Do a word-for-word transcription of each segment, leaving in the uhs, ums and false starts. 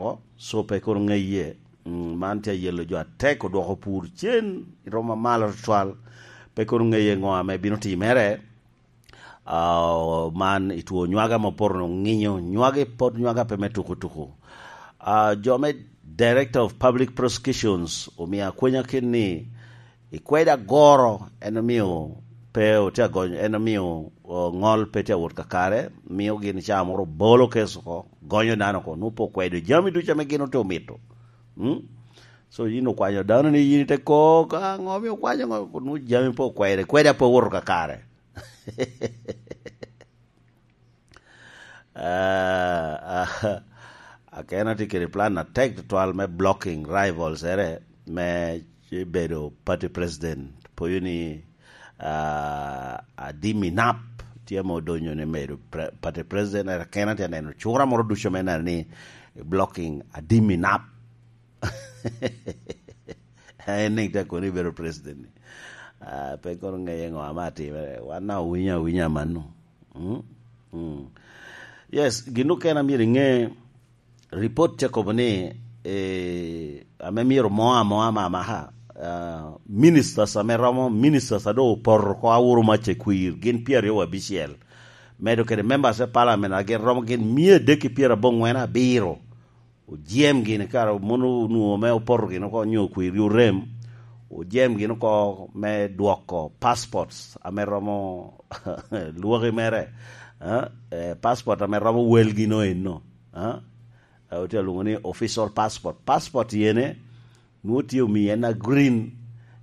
oko, so pe kono ŋeye. Mm, man tye ayelo jo atek odwoko pur cen i roma malo tutwal. Pe kono ŋeye ŋo ame bino timere. Ah, man i two nywaga ma opoto ŋinyo, nywagi pot nywaga pe me tuku tuku. Ah, jo me Director of Public Prosecutions omio akwenya kit ni i kweda goro en omio pe otye agonyo, en omio, oh, ŋol pe tye awot kakare, mio gin ca moro bolo kes oko, gonyo dano oko, nwoŋo pe okwedo jami ducu ame gin otye omito. Mm? So yin okwanyo dano ni yin ite ko, ka ŋo omio okwanyo ŋo, nwoŋo jami pe okwede, kweda pe owoto kakare. Ah, ah, Akena tye kede plan atek tutwal me blocking rivals ere me bedo party president. Poyo ni, ah, Adimi Nap tye ma odonyo ni medo pre-, party president, ere Akena tye neno cura moro ducu me neno ni blocking Adimi Nap. En ni te kono ibedo president ni. Ah, pe kono ŋeye ŋo ame atimere. Wan na owinyo awinya mano. Mm? Mm. Yes, gin okene a myero iŋe, report tye kobo ni, eh, ame myero mo amoa mamaka, ah, ministers ame romo, ministers a doŋ opoto oko awuro mac i kwir, gin pyeraryo wabicel. Medo kede members me parliament a gin romo gin mia adek ki pyerabongwen abiro. Ojem gini kara mono onwoŋo me opoto gini oko nyo kwiri orem, ojem gini oko me dwoko passports ame romo lwoki mere, eh, eh, passport ame romo wel gino eno, eh, eh, otye alwoŋo ni official passport. Passport yene nwoŋo tye omii en a green,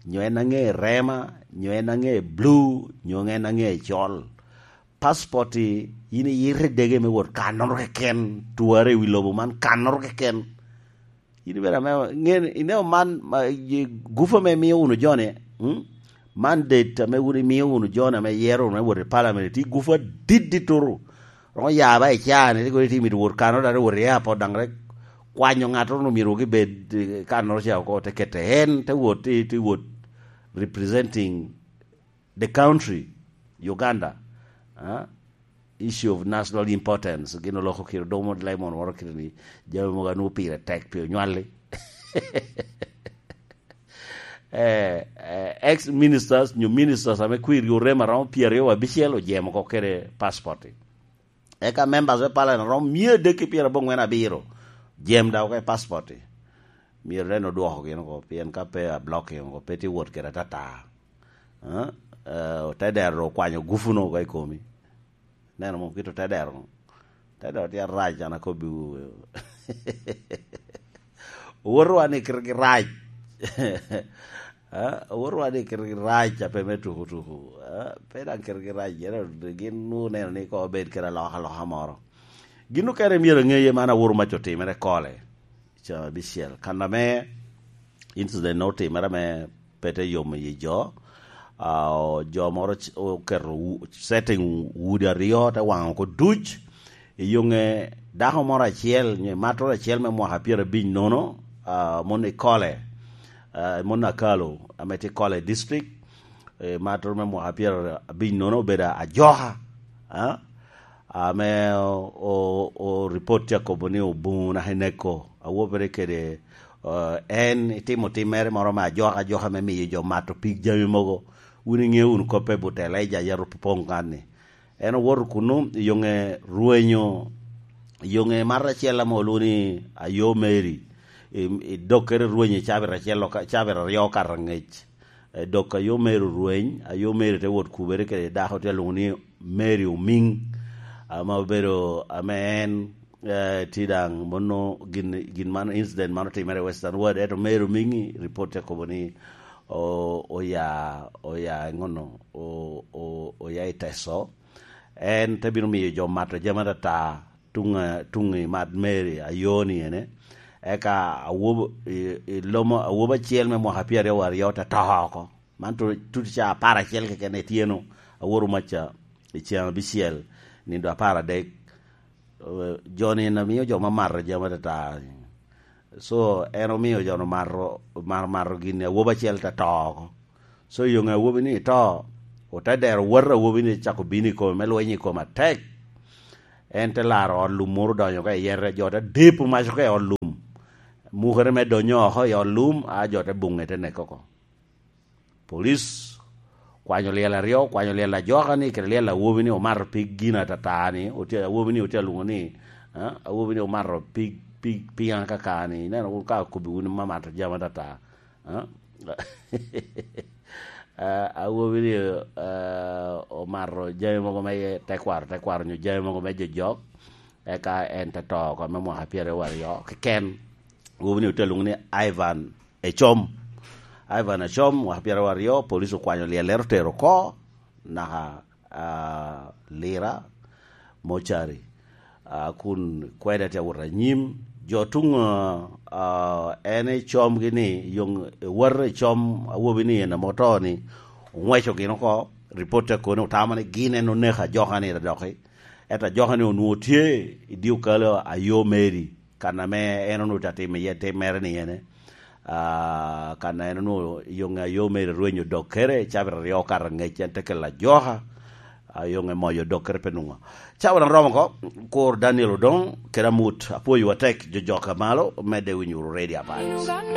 nyo en a ŋe rema, nyo en a ŋe blue, nyo en a ŋe col. Passport-ti, yin iyito i dege me wot kannoro keken, twara i wi lobo man kannoro keken. Yin ibedo ame, ŋen, ineno man, ma, i gufa ame imio wunu joni, mm? Mandate ame wun imio wunu joni ame iyero wunu me wot i parliament, tye gufa adit dittutu. Romo ya ba i caa-ni, tye kono itye mito wot kannoro, dok iwot i airport, daŋ rik kwanyo ŋattoro onwoŋo myero gibed, eh, kannoro ca oko, te kete en, te wot, te, te wot representing the country, Uganda, ah, issue of national importance, gin oloko kite domo lemon moro kite ni jami mogo anwoŋo pire tek pi onywalli. Eh, eh, ex ministers, nyo ministers ame kwirgi orem aromo pyeraryo wabicel ojemo oko kede passport. Eka members me parliament romo mia adek ki pyerabongwen abiro jem daŋ oko i passport-ti. Myero en odwoko gin oko, pien ka pe ablocking oko, pe tye wot kede atata. Eh, eh, otedero okwanyo gufu-nu oko i komi. Neno mo kit otedero. Otedero tye arac, an akobbiwu. Owotowa ni kite gi rac. Ah, owotowa ni kite gi rac a pe me tuku tuku. Ah, pe daŋ kite gi rac, yen gin oneno ni koŋ obed kede alokaloka moro. Gin okene myero eŋeye man aworo mac otimere kole. Ca abicel. Kan ame incident otimere ame pe te yomo i jo, ah, o-, jo moro c-, oketo u-, setting udi aryo, te waŋo oko duc. I yoŋe dako moro acel, nyo i mattoro acel me mwaka pyerabic nono, ah, mon i Kole, ah, mon Akalo, ame tye Kole District, eh, mattoro me mwaka pyerabic nono obedo ajoka, ah, ame o, o, o report tye akobo ni obuŋo naka i neko, awobere kede, eh, en itimo timmere moro me ajoka, ajoka me miyo jo mato pig jami mogo. Wun iŋeo wunu koppe but Elijah Yarup Opoŋ kan-ni. En owoto kunnu i yoŋe rwenyo, i yoŋe mato acel ame olwoŋo ni Ayo Mary, i, i dokkere rwenyo i cabit acel oka-, cabit aryo okato angec. Eh, dok Ayo Mary orweny, Ayo Mary te wot kubere kede dako tye alwoŋo ni Mary Omiŋ, ame obedo, ame en, eh, tye daŋ mono gin, gin man, incident man otimere i Western World, ento Mary Omiŋ-ŋi, report tye kobo ni o-, oya, oya i ŋono, o-, o-, oya i Teso. En te bino miyo jo mato jami atata, tuŋ, tuŋ i Mad Mary Ayo-ni ene. Eka awobo, i, i lomo awobo acel me mwaka pyeraryo aryo te to oko. Man tu-, tuti ca apar acel keken ityeno, aworo maca i ceŋ abicel, nindo apar adek. Eh, jo-ni en amio jo ma mato jami atata. So, en omio jo-nu mato, mar-, mato gin-ni, awobi acel te to oko. So, i yoŋe awobi-ni to, ote dero wot awobi-ni cako bino i kome, me lweny i kome atek. En te laro ot lum moro odonyo ka i yete, jo te depo mac oko i ot lum. mukere me donyo oko i ot lum, a jo te buŋe te neke oko. Police kwanyo lyel aryo, kwanyo lyel ajoka ni kede lyel awobi ni omato pig gin atata ni, otye, awobi ni otye alwoŋo ni, ah, awobi ni omato pig, pig, pig akaka ni, ineno wun ka akobbi wun mamato jami atata, ah? Ah, awobi ni, ah, omato jami mogo me tekwaro, tekwaro nyo jami mogo me jojok, eka en te to oko me mwaka pyeraryo aryo keken. Awobi ni otye alwoŋo ni Ivan Ecom. Ivan Ecom, mwaka pyeraryo aryo, police okwanyo lyellere otero oko, naka, ah, Lira, mocari. Ah, kun kwede tye awot anyim. Jo tuŋ, ah, ah, en Ecom gini, yoŋ ewot Ecom, awobi ni en ame oto ni, oŋweco gin oko, ripot te kono otamo ni gin en oneko ajoka ni doki. Ento ajoka ni onwoŋo tye i dye okalo a yo Meri, kan ame en onwoŋo tye atimo iye tim mere ni ene. Ah, kan en onwoŋo yoŋe a yo Meri rwenyo dokkere, cabit aryo okato angec, en te kelo ajoka, ah, yoŋe moyo dokkere pe nwoŋo. Cawa doŋ romo oko, kur Daniel Odong, kede amut, apwoyowa tek, jo jok a malo, medde winyo wunu Radio Vibes.